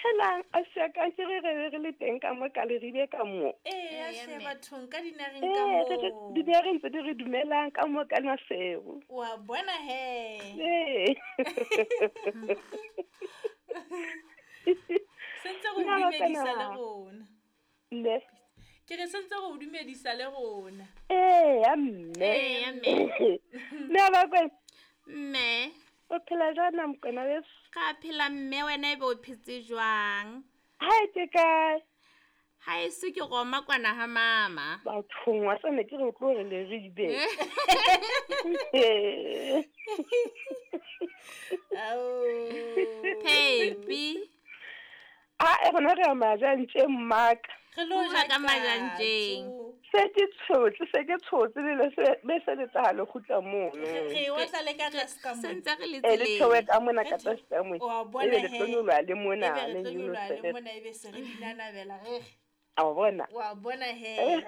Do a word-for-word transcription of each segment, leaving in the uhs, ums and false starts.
Helang a siaka ke re re re le teng ka mo ka leribe ka mo. Ee, Eya, hle mme. bathong ka dinareng ka Ee, re re moo. dinareng tse di re dumelang ka mo ka Maseru. Wa bona he. Ee. Sentse re o Nna ba dumedisa tsena. le rona. Mme. Ke re sentse re o dumedisa le rona. Ee, ya mme. Eya, mme. Mme a ba kwena. Mme. O phela jwang na Mokwena weso? Ga phela mme wena ebe o phetse jwang? Hae ke kae? Ha eso ke roma kwana ha mama. Bathong wa tsane ke re o tlo re leribe. Ao. Phepi. A e rona re ya majantjeng mmaka. Re lo Bua ja ka majantjeng. katso. Se ke tshotse, se ke tshotse le le se be se le tla le kgutla mono. Re re otla le ka tlase ka mona. Sentse re le Eh, le theohe tseleng. ka mona ka tlase ka mona. Wa bona Ebe le he. tlo nyoloha le mona, Ebe re le tlo nyoloha le nyolose. mona, ebe se re dinanabela re re. A wa bona? Wa bona he.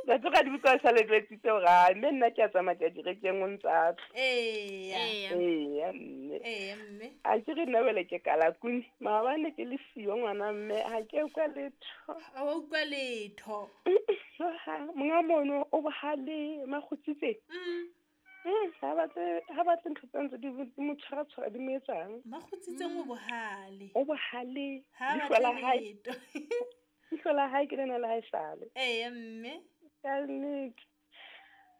Batho ga di utlwa sa le jwetsitse hore ha mme nna ke a tsamaya ke ya direkeng o ntsa tla. Eya. Eya. Eya mme. Eya mme. A ke re nna wele ke kalakuni. Maobane ke le siyo ngwana mme ha ke utlwa letho. Ha wa utlwa letho. Ha, monga mono o bohale makgotsitse. Mm. Mm, ha batle, ha batle ntho tse ntse di di mo tshwara-tshwara di mo etsang. Makgotsitseng o bohale. O bohale. Ha Leihlo batle la hae. letho. Leihlo la hae ke lena le hae sale. Eya mme. Ka nnete.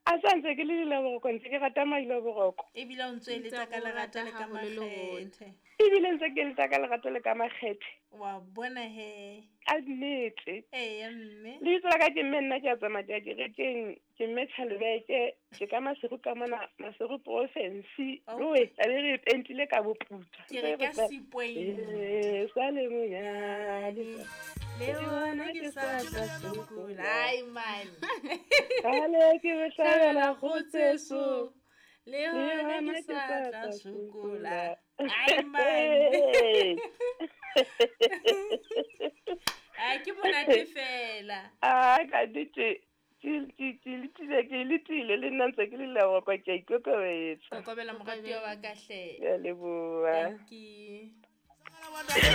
A sa ntse ke le dilaboroko, ntse ke rata mailaboroko. Ebile o ntso eletsa ka Ntse o lerato rata le ka haholo le rona. makgethe. Ebile ntse ke eletsa ka lerato le ka makgethe. Wa bona he. Ka nnete. Eya mme. Lebitso la ka ke mme nna ke a tsamaya ke ya kerekeng, ke mme Tjhalebeke, ke ka Maseru ka mona, Maseru province. Oh. Loe, tlabe re e pentile ka boputswa. Ke re ka Ntse re Seapoint. Eh, sa le monyane. Le hona ke sa tla sokola. Ai man. Kgale ke bohlabela kgotse so. Le Le hona hona ke ke sa sa tla tla sokola. sokola. Ai man. Ai ke monate fela. Ah, ka nnete. Ke ke ke letile, ke letile le nna ntse ke le leboha, ke a ikokobetsa. Kokobela moratuwa wa ka hle. Ke a leboha. Thank you.